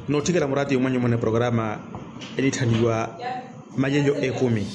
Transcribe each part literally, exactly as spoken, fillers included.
Nootthikela muraatiyo mwanyu muna eprograma enitthaniwa malelyo ekumi.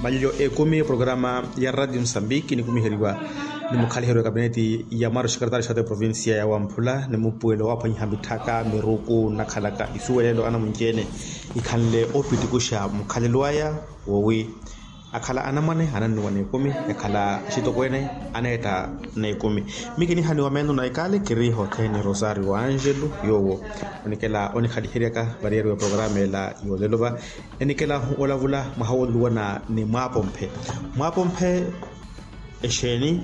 Malelyo ekumi eprograma ya radio musambiki enikumiheriwa ni mukhaliheryo wa kapineti ya mwaari oxekeretaari xaata eprovincia ya wamphula ni mupuwelo waaphwanyiha mitthaka miruku nnakhalaka isuwelelo anamunci-ene ikhanle opitikuxa mukhalelo aya wowi akhala anamwane anannuwa n'ekumi, akhala axitokweene aneetta n'ekumi. Miyo kinihaniwa meeno na ikaali kiri hothene rosario angelo yoowo onikela onikhaliheryaka variyari wa programa ela yoolelo va. Enikela olavula mwaha wooluwana ni mwaapomphe. Mwaapomphe exeeni?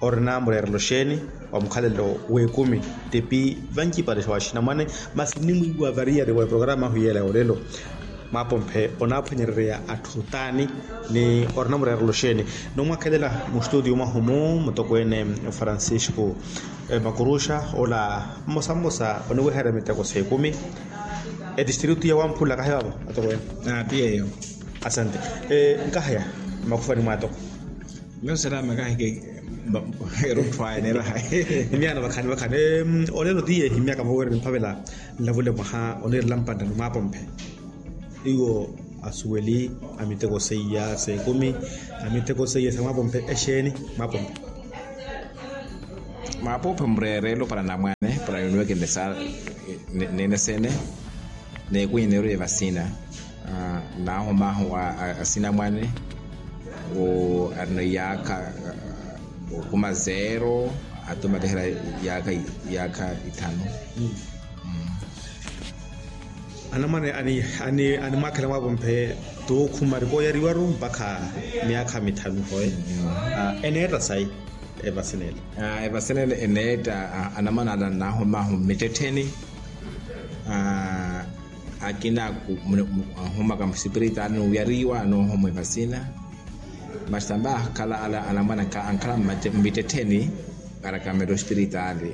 Orina mureerelo xeeni wa mukhalelo w'ekumi? Tipi vancipale xa waxinamwane masi nimwiiwa variyari wa eprograma ahu yeela yoolelo. Mwaapomphe onaaphwanyerereya atthu taani ni orina mureerelo xeeni? Nomwakhelela mustutiyo mwahu-mu mutokweene francisco makuruxa ola mmosa mmosa oniweherya miteko s'ekumi. Etistritu ya wamphula kahi vavo atokweene? Ati eyo. Asante. Nkahaya makufani mwaatoko. Miyo selaama kahike. Erutthwaye neerahaye. Miyaano vakhani vakhani. Olelo tiye ehimyaka voweri nimphavela nlavule mwaha oniirela mpanttano mwaapomphe. Iwo asuweli a miteko seiya s'ekumi a miteko seiya sa mwaapomphe exeeni? Mwaapomphe. Mwaapomphe mureerelo para namwane para yuniweke nlesa neene sene. N'ekumi neerwe evasina. Naahuma ahu asinamwane arina iyaakha okhuma zero ati omatehela iyaakha ithanu. Anamwane animwaakhela mwaapomphe t'okhuma arikooyariwaru mpakha myaakha mithanu hoye. Eneetta sayi evasina ele? Evasina ele eneetta anamwane ala nnaahuma ahu mmittettheni. Akina ahumaka musipiritaali n'uyariwa anoohomwa evasina. Masi tambe akhala ala anamwane ankhala mmittettheni arakamela osipiritaali.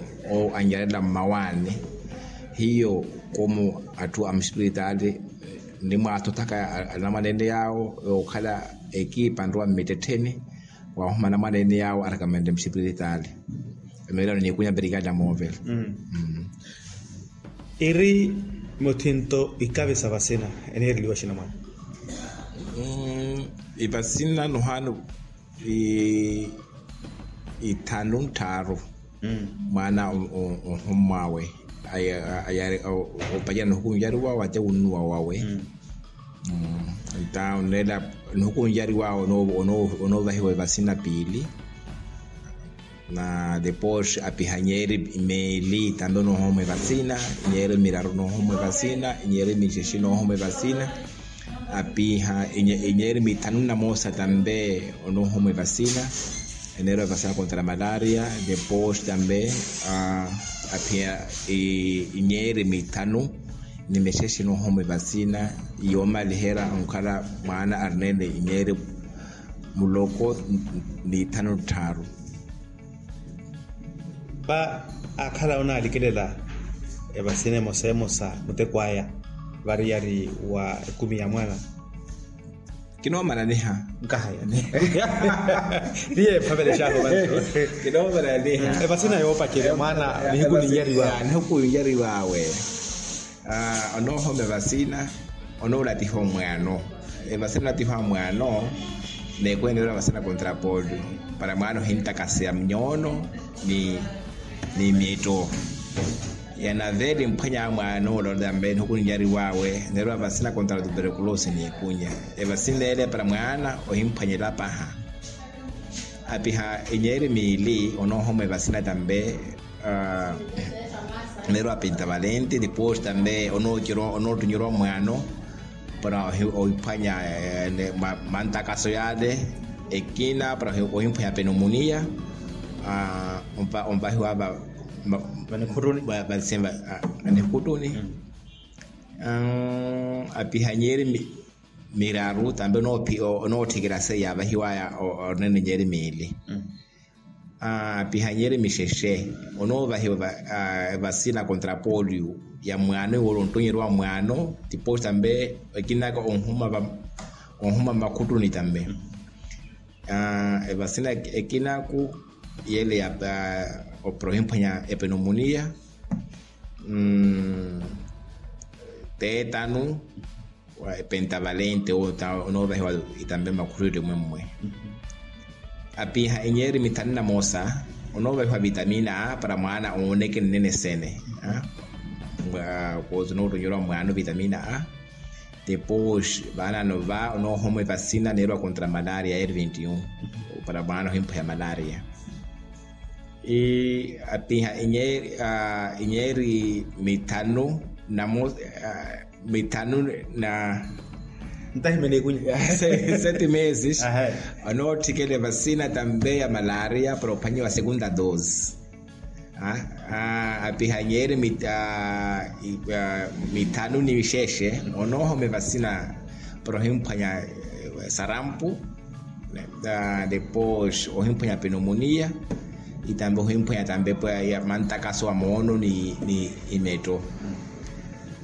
Anyalela mmawaani hiyo komu atthu a musipiritaali. Nimwaathothaka anamwane ene yaawo okhala ekipa nrowa mmittettheni. Waahuma anamwane ene yaawo arakamenle musipiritaali. Emeelano niikunya mperikali amoovela. Iri muthinto ikavi sa vasina eneereliwa xinamwane? Ivasina nohaana ithanu nttharu. Mwaana ohommwawe opacela nihukunyariwawe ate wunnuwa wawe. Ita onela nihukunyariwawe onoovahiwa evasina piili. Na depois apiha inyeeri miili tambe onoohomwa evasina. Inyeeri miraru onoohomwa evasina inyeeri mixexe onoohomwa evasina. Apiha inyeeri mithanu na moosa tambe onoohomwa evasina. Eneerwa evasina kontra malaria. Depois tambe apiha inyeeri mithanu ni mixexe onoohomwa evasina. Yoomaliherya onkhala mwaana arinene inyeeri muloko ni ithanu tthaaru. Paakhala onaalikilela evasina emosa emosa muteko aya variyari wa ekumi ya mwaana. Kinoomalaniha. Nkahaya. Tiye ephavelexaho vantu. Kinoomalaniha. Evasina yoopacerya mwaana nihiku ninjariwawe. Onoohoma evasina onoolatiha omwaano. Evasina olatiha omwaano. Neekwene eneerwa evasina kontra polio para mwaano ohintakaseya mnyoono ni miitto. Yanaveli mphwanya mwaano ola tambe nihuku ninjariwawe. Eneerwa evasina kontra tuberkulosi niikunya. Evasina ele para mwaana ohimphwanyela paha. Apiha inyeeri miili onoohoma evasina tambe. Neerwa pinta valenti depois tambe onoottunyerwa mwaano para ohiphwanya mantakaso yale. Ekina para ohimphwanya penomunia. Onvahiwa vanikhutuni. Apiha inyeeri miraru tambe onootthikela seya yavahiwaya onene inyeeri miili. Apiha inyeeri mixexe onoovahiwa evasina kontra polio ya mwaano iwolo onttonyerwa mwaano. Depois tambe ekinaka onhuma mmakhutuni tambe. Evasina ekinaku yele ya para ohimphwanya epenomunia. Teetanu, pentavalente onoovahiwa itambe makhuriri mwemmwe. Apiha enyeeri mithanu na moosa onoovahiwa vitamina a para mwaana ooneke nnene sene. Koosi onootonyerwa mwaana ovitamina a. Depois vaanano va onoohoma evasina neerwa contra malaria r vinte e um para mwaana ohimpweha malaria. Apiha enyeeri mithanu na mithanu na ntahimene ikunya sete meses. Onootthikela evasina tambe ya malaria para ophwanyiwa segunda dose. Apiha enyeeri mithanu ni mixexe onoohoma evasina para ohimphwanya sarampu. Depois ohimphwanya pneumonia. Itambe ohimphwanya tambe mantakaso a moono ni imetto.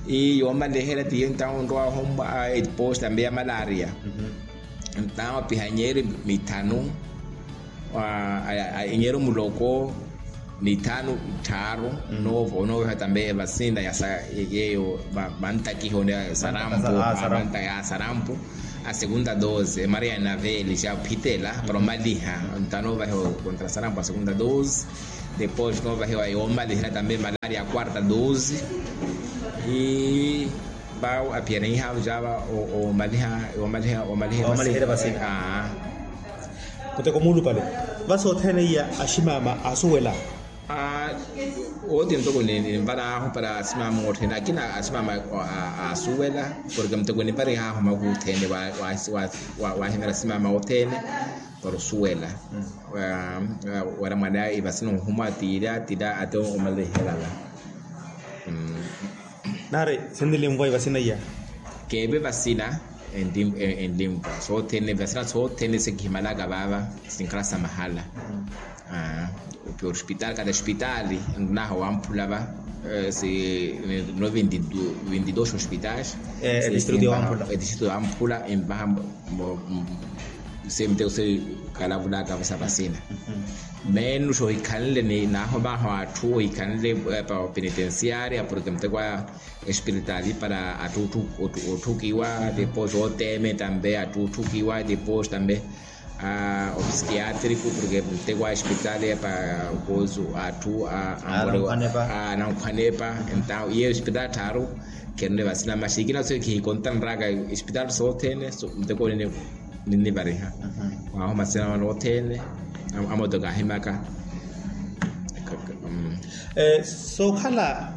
Ii yoomaliherya tiyo entawo onrowa ohomwa. Depois tambe ya malaria. Entawo apiha enyeeri mithanu enyeeri muloko ni thanu tthaaru. Onooveha tambe evasina ya yeeyo mantakiho ni sarampu. Mantaka ya sarampu a segunda dose emaria ya naveli xa ophitela para omaliha. Entawo noovahiwa contra sarampu a segunda dose. Depois noovahiwa yoomaliherya tambe malaria a quarta dose. Ii vau apiha enihaavu cava omaliha omaliha omaliha omaliha evasina. Muteko muulupale. Vasi othene iya aximaama asuwela. Ooti muteko ninvaraahu para asimama othene akina asimama asuwela. Porke muteko ninvarihaahu makuuthene wahimera asimama othene para osuwela. Wira mwaana ivasina ohuma tira tira ate omaliherala. Nari sinnilimvwa ivasina iya. Keeve vasina enlimvwa sothene vasina sothene sekihimalaka vava sinkhala sa mahala. Opiya ospitali kata ospitali nnaha wamphula va. Si no vinti dos ospitali. Etistritu yamphula envaha. Semuteko se kalavulaka vasa vasina. Menos ohikhanle ni nahomaho atthu ohikhanle pa penitensiaria porke muteko a espiritaali para atthu otthukiwa depois oteme tambe atthu otthukiwa depois tambe opsikiatriko porke muteko a espiritaali pa kosu atthu anankhwanepa. Entawo iye espiritaali tthaaru kherine vasina maxi ikina so kihikontana raka espiritaali sothene muteko nini. Ninnivariha waahoma sina vano othene. Amotoka ahimaka. Sookhala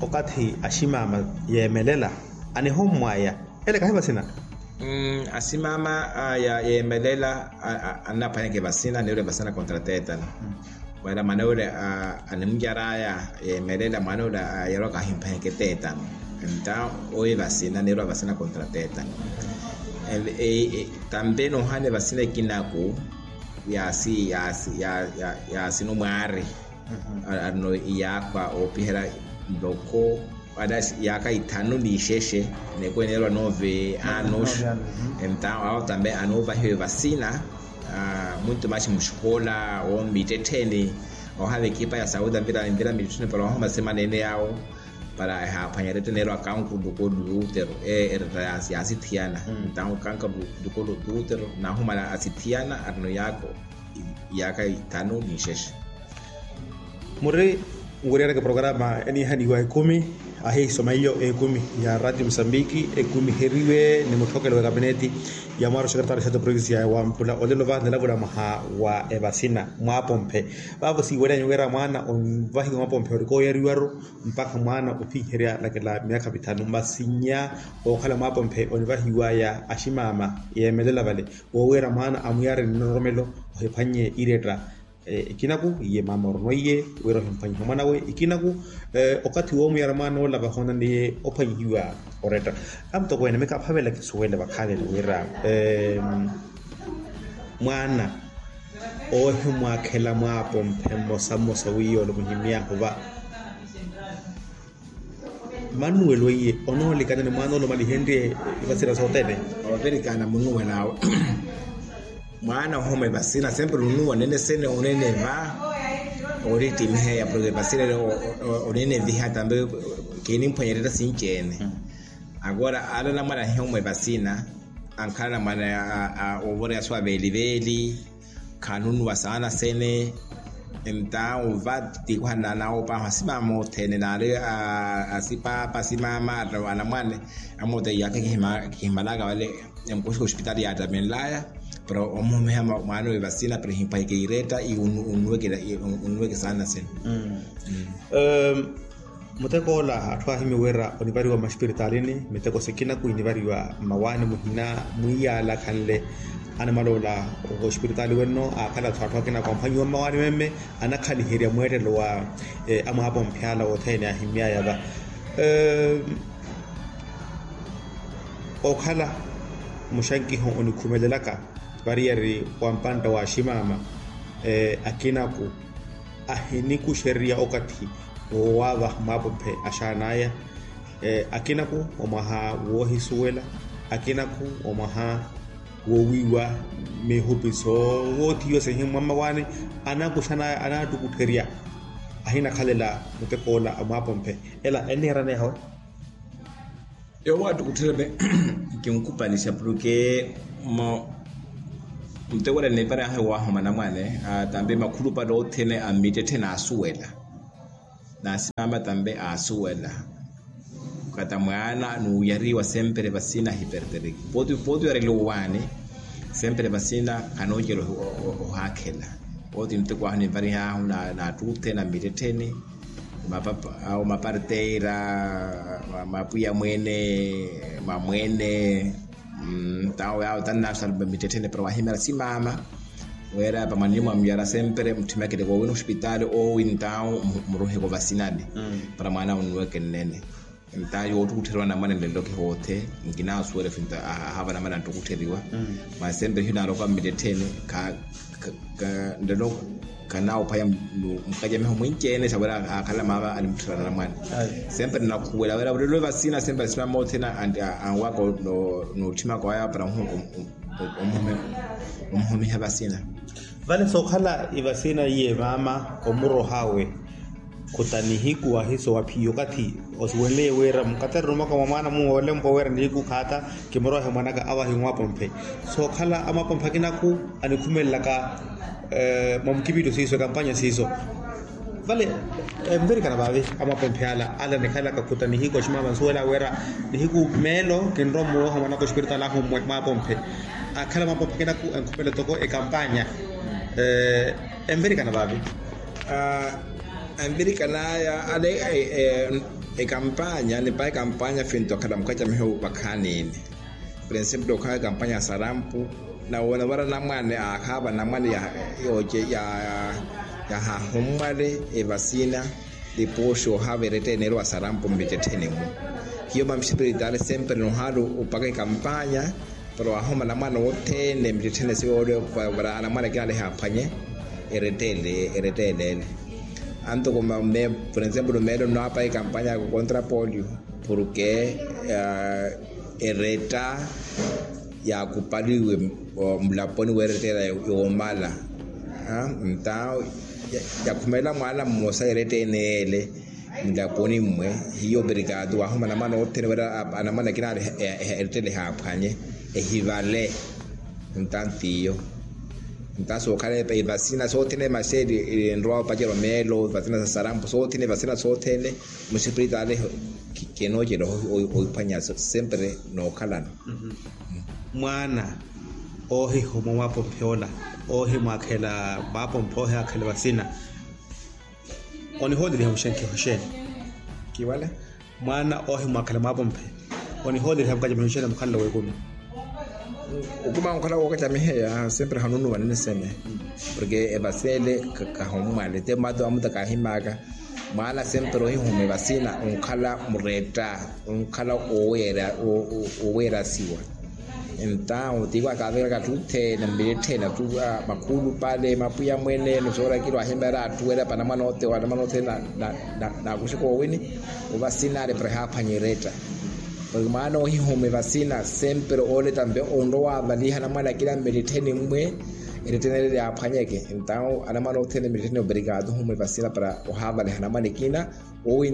okathi aximaama yeemelela anihommwaya ele kahi vasina. Aximaama yeemelela annaphwanyeke vasina neerwe vasina contra teetano. Wira mwaana ule animucaraya yeemelela mwaana ule ayerwaka ahimphwanyeke teetano. Entawo owi vasina neerwa vasina contra teetano. Tambe noohana evasina ekinaku yaasi yaasi yaasi numwaari. Arino iyaakhwa oopiherya nloko ata iyaaka ithanu n'ixexe. Neekweneerwa nove anos. Entawo awo tambe anoovahiwa evasina. Muito maxi muxikola owo mmittettheni. Ohaava ekipa ya sauda mvira mmittettheni para ohoma semana ene yawo para ehaaphwanya eretta neerwa kankuru nloko luutero. Eretta yaasithiyana. Entawo kankuru nloko luutero nahumala asithiyana arino yaaka ithanu n'ixexe. Muri nweriyaraka programa enihaniwa ekumi ahihisoma iyo ekumi ya radio musambiki ekumiheriwe ni mutthokelo wa ekapineti ya mwaari wa sekeretaari sete provinsi ya wamphula olelo va nilavula mwaha wa evasina mwaapomphe. Vaavo siiwelyanyu wira mwaana onvahiwa mwaapomphe orikooyeriwaru mpakha mwaana ophiherya lakela myaakha mithanu masi nnya ookhala mwaapomphe onivahiwaya aximaama yeemelela vale. Woowira mwaana amuyari nnororomelo ohiphwannye iretta. Ikinaku iye maama orono iye wira ohimphwanyiha omwanawe ikinaku okathi woomuyara mwaana ola vahoonaniye ophwanyihiwa oretta. Amutokweene mika aphavela kisuwele vakhalele wira mwaana oohimwakhela mwaapomphe mmosa mmosa wiiyolo muhimyaahu va. Mani nuwelo iye onoolikana ni mwaana ole omalihenrye ivasira sothene. Ovirikana munuwelaawe mwaana ohoma evasina sempre nunuwa onene sene onene va. Oritimiheya porque vasina ori onineviha tambe. Kinimphwanyererya sinci-ene. Agora ala anamwane ahiya omwe vasina, ankhala anamwane ovoreya suwa veliveli. Khanunuwa saana sene. Entawo va tikuhana nawo paho asimama othene nali asipaapa asimama anamwane. Amote yake kihimalaka vale. Emukuxika ospitali yaatamenlaya para omuhumiha mwaanowe vasina para ehimpwahike ireta iwunnuweke saana sene. Muteko ola atthu ahimya wira onivariwa mmaxipiritalini miteko sikina kuinivariwa mmawaani muhina mwiiyalakhanle. Anamala ola oxipiritaali wenno aakhala atthu akina akwamphwanyiwa mmawaani meme anakhaliherya mweettelo wa amwaapomphe ala wothene ahimyaya va. Okhala muxankiho onikhumelelaka variyari wa mpantta wa aximaama akinaku ahinikuxererya okathi woowaavaha mwaapophe axaan'aya. Akinaku omwaha woohisuwela, akinaku omwaha woowiiwa mihupi soowothiwa sehimwa mmawaani anakuxan'aya anaattukuttherya. Ahinakhalela mutek'ola a mwaapophe ela enniiraneya hawe. Yoowo attukuttherya. Kinkupalixa porke muteko ela nniparyahe waahuma anamwane tambe makhulupale othene a mmittettheni aasuwela. Naasimaama tambe aasuwela. Kata mwaana nuuyariwa sempre vasina ahiperteriki pooti pooti oyareliwa owaani. Sempre vasina khanoocela ohaakhela. Pooti muteko ahu ninvarihaahu naattukuttherya na mmittettheni. Awo maparteira, mapwiya mweene, mamweene. Tawo yawo tannaxala mittetthene para wahimyara simaama. Wira pamwanini mwa muyara sempre mutthimyakele koowina ospitaali owi ntawo muruheko vasinani para mwaana unnuweke nnene. Ntawo yoottukuttheriwa anamwane nlelo kihoothe. Nkinaasuwela finto ahaava anamwane anttukuttheriwa. Masi sempre hiyo naaloka mmittettheni. Nlelo khanaawophwanya mukacamiho mwinci-ene sa wira aakhala maava animuttherana anamwane. Sempre nakhuwela wira olelo vasina sempre asimama othene anwaka nootthimaka waya para omuhumiha vasina. Vale sookhala evasina iye maama omurohawe khuta nihiku ahiso wa phiyo okathi osiwenleye wira mukatariro mwaka mwa mwaana muwe olempwa wira nihiku khaata kimurohe mwanaka awahi mwapomphe. Sookhala amwapomphe akinaku anikhumelelaka mwa mukipitto siiso ekampanya siiso. Vale envirikana vaavi amwapomphe ala ala nikhalaka khuta nihiku aximama nsuwela wira nihiku meelo kinrowa mmuroha mwanaka ospiritaali ahu mwapomphe. Akhala mwapomphe akinaku enkhumele toko ekampanya. Envirikana vaavi envirikan'aya ale ekampanya nipahe ekampanya finto akhala mukacamiho vakhaanini. Por ensemplo okhala ekampanya ya sarampu nawona vara namwane ahaava namwane yooce yahahummwale evasina. Lipuxi ohaava erettene eri wa sarampu mmittettheni-mu hiyo mamixipiritali sempre nohaala opaka ekampanya para wahuma anamwane othene mmittettheni siyoole para anamwane akina ale ehaaphwanye erettele ele. Antoko por ensemplo meelo nnaapaka ekampanya ya kukontra polio porke eretta yaakupaliwe mulaponi weerettela yoomala. Nta yakhumelela mwaana mmosa erettene ele mulaponi mmwe hiyo operikatu wahuma anamwane othene wira anamwane akina ale erettele ehaaphwanye ehivale. Nta ntiyo nta sookhala evasina sothene maxeeli enrowa opacerya omeelo evasina sa sarampu sothene evasina sothene muxipiritali. Kenoocela ohiphwanya sempre nookhalana. Mwaana oohihuma mwapomphe ola oohimwaakhela mwapomphe oohimwaakhela vasina onihooleliha muxenkiho xeeni? Kiwale mwaana oohimwaakhela mwapomphe onihooleliha mukacamiho xeeni mukhalelo w'ekumi? Okuma onkhala wookacamiheya sempre hanunuwa nini sene porke evasele kahummwale te mmato amuta kaahimaka. Mwaana sempre ohihuma evasina onkhala muretta onkhala oweerasiwa. Entawo tiiwa kaavekelaka atthu othene mmilettheni atthu makhuulupale mapwiya mwene nosoora kilo ahimera atthu wela panamwana othene naakuxuka owini. Ovasinale para ehaaphwanya eretta. Porke mwaana ohihuma evasina sempre oole tampe onrowa wavaliha namwana akina mmilettheni mmwe. Erettenele yaaphwanyeke. Entawo anamwana othene mittettene operikaato ohumwa evasina para ohaavaleha anamwana ekina. Owi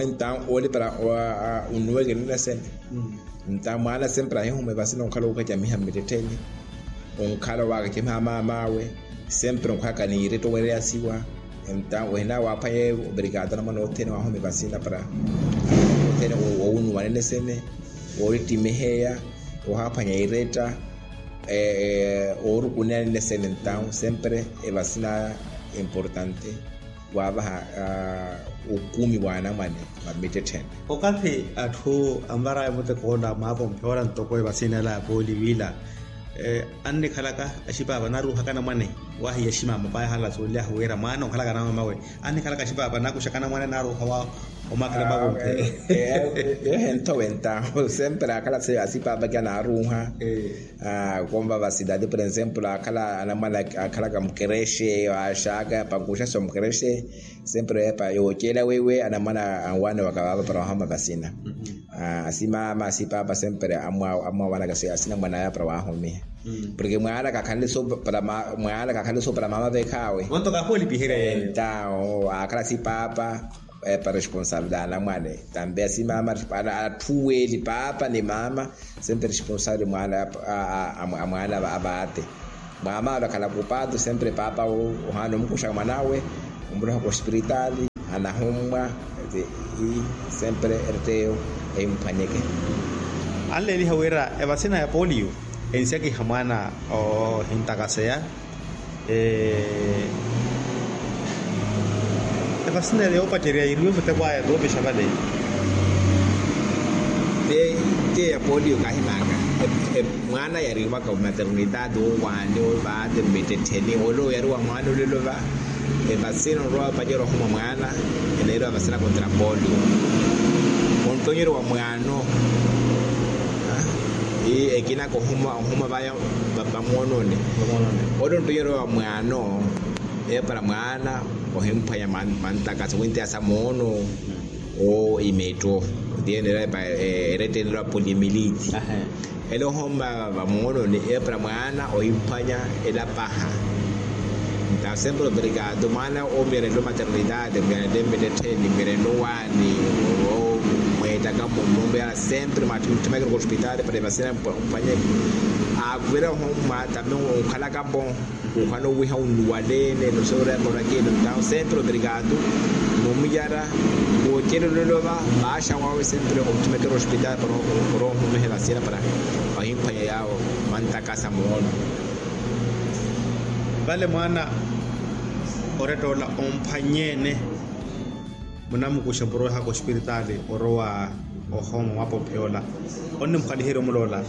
entawo ooli para onnuweke ninesene. Entawo mwaana sempre ahihumwa evasina onkhala ookacamiha mmittettene, onkhala owaakacamiha amaam'awe, sempre onkhalaka niiretta owereyasiwa. Entawo ohina waaphwanya eyo operikaato anamwana othene waahuma evasina para othene owunuwa ninesene, oorittimiheya, ohaaphwanya iretta, oorukuneya ninesene. Entawo sempre evasina importante waavaha okumi wa anamwane. Mamittetthene. Okathi atthu anvaraya muteko ola maapompe ola ntoko evasina ela ya pooli wiila, annikhalaka axipaapa naruuhaka anamwane, wahiya aximama paya halaso olyahu wira mwaana onkhalaka anamamawe, annikhalaka axipaapa nakuxaka anamwane naruuha wa omaakhela maapompe. Yohentho wenta sempre akhala asipaapa ki anaaruuha. Konva vasilati por exemplo akhala anamwana akhalaka mukerexe, axaka pankuxaxa mukerexe, sempre epa yooceela weiwe anamwana anwaaniwaka vaava para wahoma vasina. Asimama asipaapa sempre amwawanaka asinamwana aya para wahomiha. Porke mwaana kakhanle so para mama vekhaawe. Entawo akhala asipaapa epa responsabilidade anamwane tambe asimama. Atthu weeli paapa ni mama sempre responsabilidade amwaana avaate. Mama ole akhala kupaatu sempre paapa ohaana omukuxa mwan'awe, omuroha kospiritaali anahummwa. Ti i sempre erteyo ehimuphwanyeke. Anleeliha wira evasina ya polio ensiyakiha mwaana ohintakaseya. Evasina ela yoopacerya yiriwe muteko aya toopixa vale. Tiye ya polio kahimaaka. Mwaana yariwaka omaternidade owaani ovaate mmittettheni ole oyariwa mwaana olelo va. Evasina onrowa opacerya ohuma mwaana eneeriwa vasina kontra polio. Ontonyeryo wa mwaano. Ekina kohuma ohuma vaya vamoononi. Ole ontonyeryo wa mwaano epara mwaana ohimphwanya mantakasa wintiyasa moono. Imetto tiye enerewa epa eretteneriwa polyomyelite. Ele ohomma vamoononi epara mwaana ohimphwanya elapaha. Nta sempre operikaato mwaana omirelo maternidade omirelo mmittettheni omirelo waani omweettaka mumumbeya sempre mwaatthimekero kospitaali para evasina mphwanyeke. Aavira ohomma tambe onkhalaka mpo. Ohana owiha onnuwaleene nosoorya korakelo ntawo sempre operikaato. Nomuyara woocela olelo va vaaxa waawe sempre omutthimekera ospitaali para ohumiha evasina para ohimphwanya yaawo mantakasa moono. Vale mwaana oretta ola omphwanyeene. Munamukuxa muroweha kospiritaali orowa ohooma mwaapompe yoola onnimukhaliherya omuloola.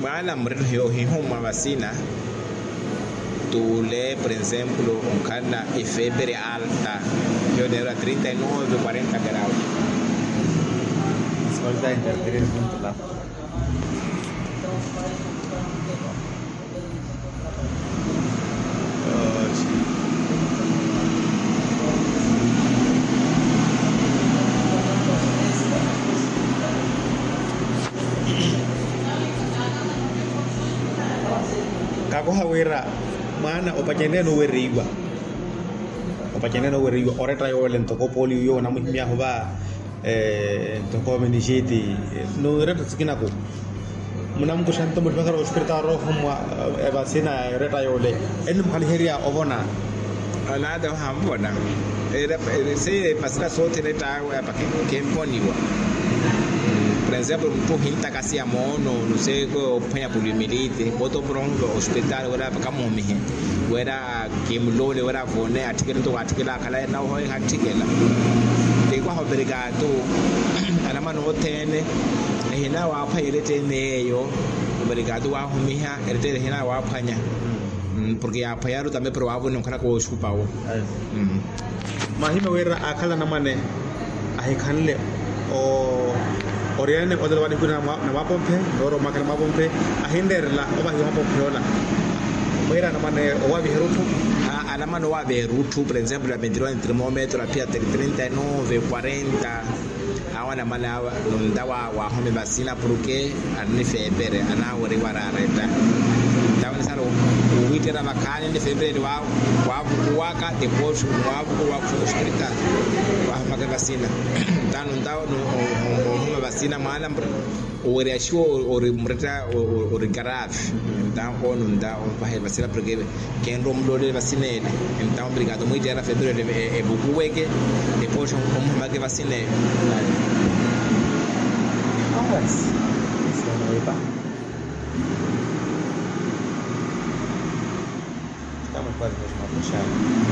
Mwaana muretta ohihumwa vasina tuule por exemplo onkhala efebre alta. Hiyo neerwa trinta y nove quarenta grau. Kakoha wira mwaana opaceneene oweriwa. Opaceneene oweriwa oretta yoole ntoko pooli wiyo onamuhimyahu va. Ntoko menixiti. Niretta sikinaku munamukuxa nto mutthimekera ospiritaali oroohumwa evasina eretta yoole. Ennimukhaliherya ovona. Anaata ohamuvona. Se evasina sothene ettaawe apa kimponiwa. Por exemplo mutthu ohintakaseya moono nuse koophwanya poliomyelite moto murohumwa ospiritaali wira apa kamuhumihe. Wira kimuloole wira avone atthikele ntoko atthikele akhalaye nawe ohoweha atthikela. Tikwaha operikaato anamwana othene. Ehina waaphwanya erettene eyo operikaato waahumiha erettene ehina waaphwanya. Porke yaaphwanyaru tambe para waavone onkhalaka wooxupawo. Mwahimya wira akhala anamwane ahikhanle oriyane olelo vanikhwina na mwapomphe noora omwakhela mwapomphe ahinreerela ovahiwa mwapomphe yoola. Mweera anamwane owaviha erutthu. Anamwane owaviha erutthu por exemplo ya ventinuwa ni trimometro aphiya trinta y nove quarenta. Awo anamala awa nunta wa wahome vasina porke arine fepere anaweriwa rareta. Ntawo nisala uwitera vakhaani ni fepere ni wavukuwaka depois wavukuwa hospital wahomaka vasina. Ntawo nunta ohoma vasina mwana mure uweriyaxiwa ori mureta ori garaafi. Ntawo nunta ovahe vasina porke kenre omulolele vasinene. Ntawo obrigado mwitera fepero evukuweke depois omuhumake vasinene. Awas. Isi onowepa. Estamos quase mesmo a fechar.